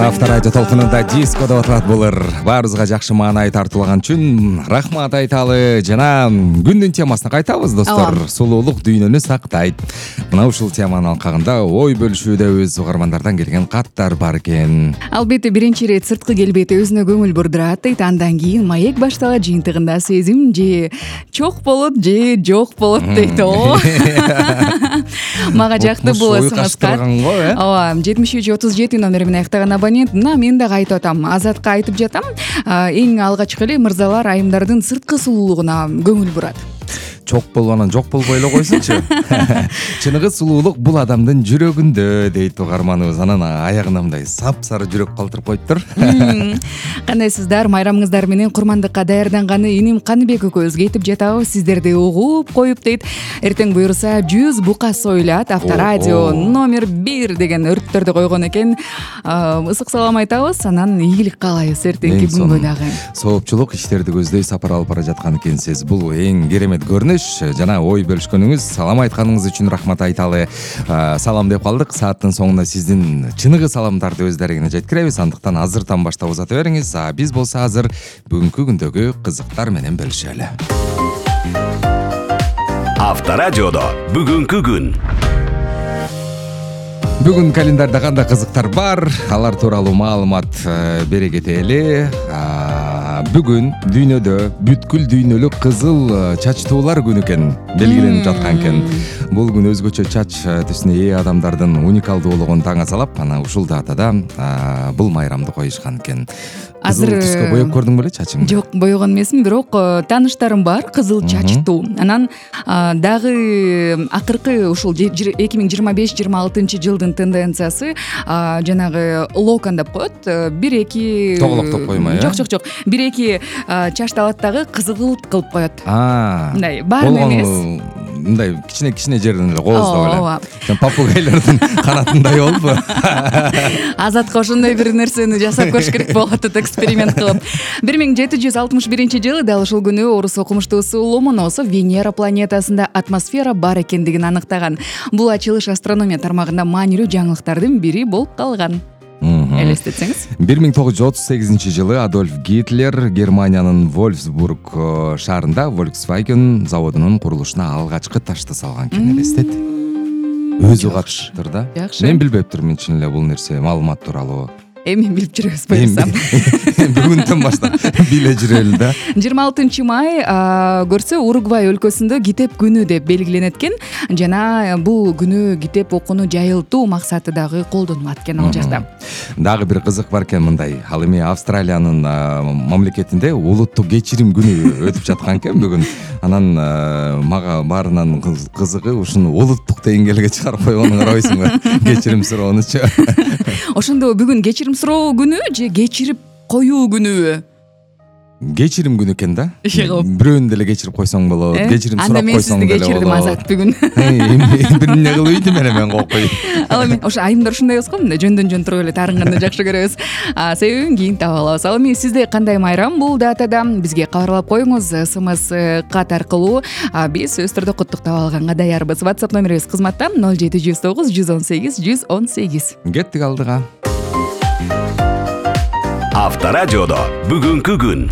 Авторадио толкунунда диско деп аталат булар. Баарыбызга жакшы маанай тартуулаган үчүн рахмат айталы. Жана күндүн темасына кайтабыз, достор. Сулуулук дүйнөнү сактайт. Мына ушул теманын алкагында ой бөлүшүүдөбүз. Угармандардан келген каттар бар экен. Албетте биринчи ирет сырткы келбети өзүнө көңүл бурдурат дейт. Андан кийин маек башталат, жыйынтыгында сезим же чок болот же жок болот дейт. Мага жакты бул смс-кат. Ооба, 7337 номери менен аяктаган абонент. Мына мен дагы айтып атам. Азатка айтып жатам. Эң алгачкы эле мырзалар айымдардын сырткы сулуулугуна көңүл бурат. Чок болуп анан жок болбой эле койсунчу. Чыныгы сулуулук бул адамдын жүрөгүндө дейт угарманыбыз. Анан аягына мындай сап-сары жүрөк калтырып коюптур. Кандайсыздар? Майрамыңыздар менен курмандыкка даярданганы иним Каныбек экөөбүзгө айтып жатабыз. Сиздерди угуп коюп дейт. Эртең буюрса 100 бука сойлат. Авторадио номер 1 деген өрттөрдү койгон экен. Ысык салам айтабыз. Анан ийгилик каалайбыз эртеңки күнгө дагы. Соопчулук иштерди көздөй сапар алып бара жаткан экенсиз. Бул эң керемет көрүнүш. Жана ой бөлүшкөнүңүз, салам айтканыңыз үчүн рахмат айталы. Салам деп калдык. Сааттын соңуна сиздин чыныгы саламдарды өздөрүңүзгө жеткиребиз. Андыктан азыртан баштап узата бериңиз. Биз болсо азыр бүгүнкү күндөгү кызыктар менен бөлүшөлү. Авторадиодо бүгүнкү күн. Бүгүн календарда кандай кызыктар бар? Алар тууралуу маалымат бере кетели. Бүгүн дүйнөдө бүткүл дүйнөлүк кызыл чачтуулар күнү экен белгиленип жаткан экен. Бул күн өзгөчө чач түсүнө ээ адамдардын уникалдуулугун таң азалап, анан ушул датада бул майрамды коюшкан экен. Кызыл түскө боеп көрдүң беле чачыңды? Жок, боёгон эмесмин, бирок тааныштарым бар кызыл чачтуу. Анан дагы акыркы ушул 2025-26 жылдын тенденциясы жанагы локон деп коет. 1-2 тоголоктоп коймой, э? Жок. 1-2 чачты алат дагы кызгылт кылып коет. Мындай баарын эмес. Мындай кичине жерден эле кооздоп эле. Попугайлардын канатындай болупу? Азатка ошондой бир нерсени жасап көрүш керек болуп атат, эксперимент кылып. 1761 жылы дал ушул күнү орус окумуштуусу Ломоносов Венера планетасында атмосфера бар экендигин аныктаган. Бул ачылыш астрономия тармагында маанилүү жаңылыктардын бири болуп калган. Элестетсеңиз. 1938 жылы Адольф Гитлер Германиянын Вольфсбург шаарында Volkswagen заводунун курулушуна алгачкы ташты салган экен, элестет. Өзү катыштыр да. Мен билбептирмин чын эле бул нерсе, маалымат тууралуу. Эми билип жүрөбүз буюрса. Бүгүндөн баштап биле жүрөлү да. 26 май көрсө Уругвай өлкөсүндө китеп күнү деп белгиленет экен. Жана бул күнү китеп окууну жайылтуу максаты дагы колдонулат экен ал жакта. Дагы бир кызык бар экен мындай. Ал эми Австралиянын мамлекетинде улуттук кечирим күнү өтүп жаткан экен бүгүн. Анан мага баарынан кызыгы ушуну улуттук деңгээлге чыгарып койгонун карабайсыңбы? Кечирим суроонучу. Ошондо бүгүн кечирим суроо күнү же кечирип коюу күнүбү? Кечирим күнү экен да. Бирөөнү деле кечирип койсоң болот. Кечирим сурап койсоң деле болот. Кечирдим Азат бүгүн. Бир эмне кылып ийдим мен кокуй. Ал эми ошо айымдар ушундай эмес го, мындай жөндөн туруп эле таарынганды жакшы көрөбүз. Себебин кийин таап алабыз. Ал эми сизде кандай майрам бул датада? Бизге кабарлап коюңуз СМС кат аркылуу. Биз өз түрдө куттуктап алганга даярбыз. WhatsApp номерибиз кызматта 0709 118 118. Кеттик алдыга. Авторадиодо бүгүнкү күн.